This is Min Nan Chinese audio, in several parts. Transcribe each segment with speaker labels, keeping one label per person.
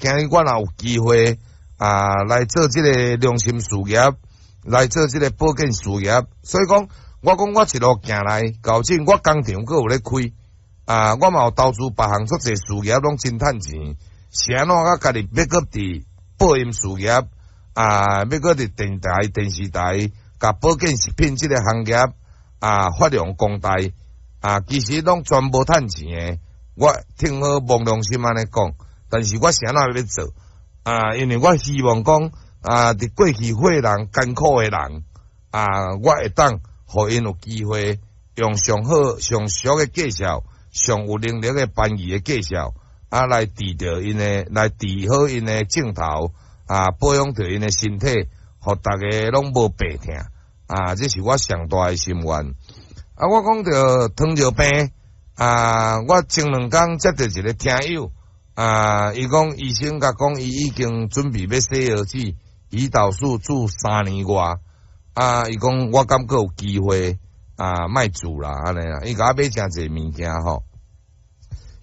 Speaker 1: 今日我若有機會啊，來做這个良心事業，來做這个保健事業，所以講，我講我一路行來，搞正我工廠閣有咧開啊，我嘛有投資別項足濟事業，攏真趁錢。是按怎我家己欲閣佇播音事業啊，欲閣佇電台、電視台，共保健食品這个行業啊發揚光大啊，其實攏全無趁錢的。我聽好摸良心按呢講，但是我是按怎欲做啊？因為我希望講啊，佇過去歲人艱苦的人啊，我會當予𪜶有機會用上好、上俗的介紹，上有能力的翻譯的介紹啊，來治著𪜶的，來治好𪜶的症頭啊，保養著𪜶的身體，予逐家攏無病疼啊！這是我上大的心願。啊，我講著糖尿病啊，我前兩工接著一个聽友啊，伊講醫生共講，伊已經準備欲洗腰子，胰島素注3年外啊，伊講我敢閣有機會啊，莫注啦按呢啦，伊共我買誠濟物件吼，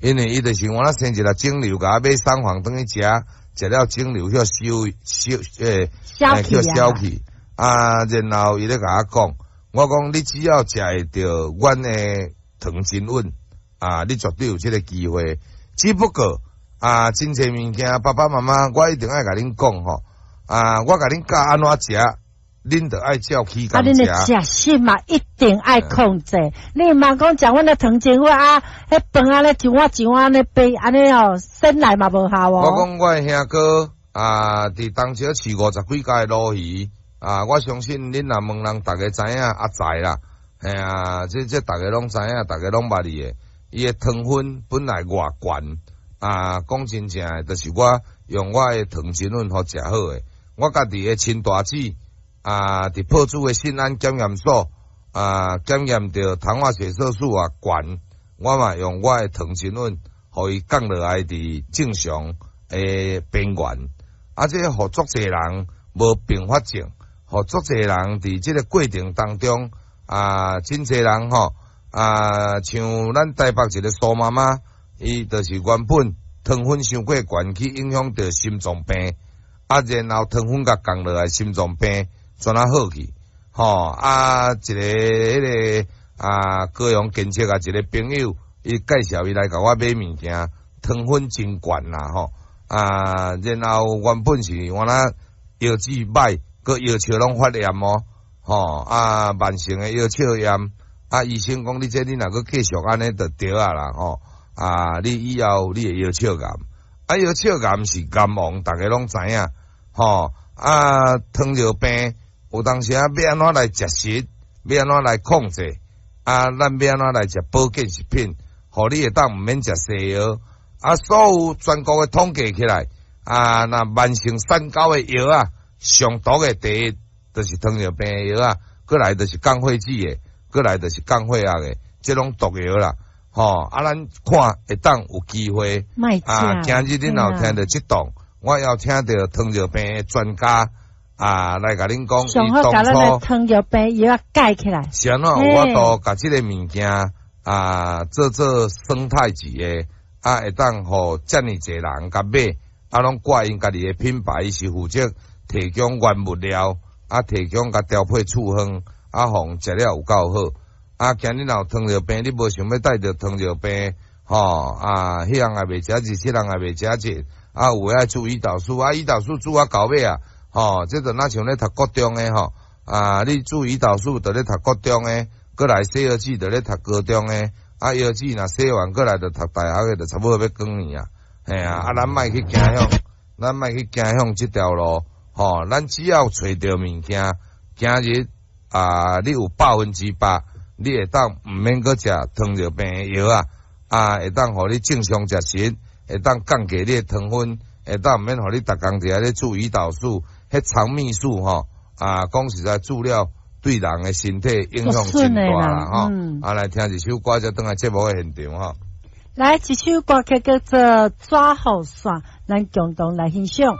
Speaker 1: 因為伊就是我那生一粒腫瘤，共我買桑黃轉去食，食了腫瘤予收收予消去啊，然後伊咧共我講，我講你只要食會著阮的糖精穩啊，你絕對有這个機會。只不過啊，真濟物件，爸爸媽媽，我一定愛共恁講吼啊，我共恁教按怎食，恁著愛照起
Speaker 2: 啊，恁的食食嘛，一定愛控制。你毋通講食阮的糖精粉啊，彼飯按呢一碗一碗按呢白，按呢哦，生來嘛無效哦。
Speaker 1: 我講我的兄哥啊，佇東石飼五十幾家的鱸魚啊，我相信恁若問人，逐家知影阿在啦，嘿啊，這逐家攏知影，逐家攏捌伊的。伊的糖分本來偌懸啊，講真正的，就是我用我的糖精粉予食好的。我家己的親大姊啊，佇朴子的信安檢驗所啊，檢驗著糖化血色素啊懸，我嘛用我的糖精粉，予伊降落來佇正常的邊緣。啊，這予足濟人無併發症，予足濟人佇這个過程當中啊，真濟人吼啊，像咱台北一个蘇媽媽，伊就是原本糖分傷過懸，去影響著心臟病，啊，然後糖分共降落來，心臟病轉啊好去，吼啊，一个彼个啊高雄建設啊一个朋友，伊介紹伊來共我買物件，糖分真懸啦吼，啊，然後原本是原來腰子歹，閣腰笑攏發炎哦，吼啊，慢性的腰鞘炎，啊，醫生講你這你若閣繼續按呢就著啊啦吼，啊，你以後你會腰鞘癌，啊，腰鞘癌是癌王，逐家攏知影，吼啊，糖尿病有當時啊，欲按怎來食食，欲按怎來控制，啊，咱欲按怎來食保健食品，予你會當毋免食西藥，啊，所有全國的統計起來，啊，若慢性三高的藥啊，上毒的第一就是糖尿病的藥啊，閣來就是降血脂的，閣來就是降血壓的，這攏毒藥啦，吼啊，咱看會當有機會啊，今日恁若有聽著這檔，我邀請著糖尿病的專家啊，來共恁講，
Speaker 2: 上好共咱的糖尿病藥蓋起來。
Speaker 1: 是按怎有法度共這个物件啊，做做生態級的啊，會當予遮爾濟人共買，啊，攏掛𪜶家己的品牌，是負責提供原物料，啊，提供共調配處方，啊，予食了有夠好。啊，今日若有糖尿病，你無想欲帶著糖尿病，吼啊，彼項也袂食熱，這項也袂食熱，啊，有的愛注胰島素，啊，胰島素注啊到尾啊，吼，這就若像咧讀國中的吼，啊，你注胰島素就咧讀國中的，閣來洗腰子就咧讀高中的，啊，腰子若洗完閣來就讀大學的，就差不多欲光去啊，嘿啊，啊，咱莫去走向，咱莫去走向這條路，吼，咱只要揣著物件，今日啊，你有100%，你會當毋免閣食糖尿病的藥啊，啊，會當予你正常食食，會當降低你的糖分，會當毋免予你逐工佇遐咧注胰島素，彼腸泌素吼，啊，講實在注了對人的身體影響真大啦吼。啊，來聽一首歌，才轉來節目的現場吼。
Speaker 2: 來一首歌曲叫做《抓雨傘》，咱共同來欣賞。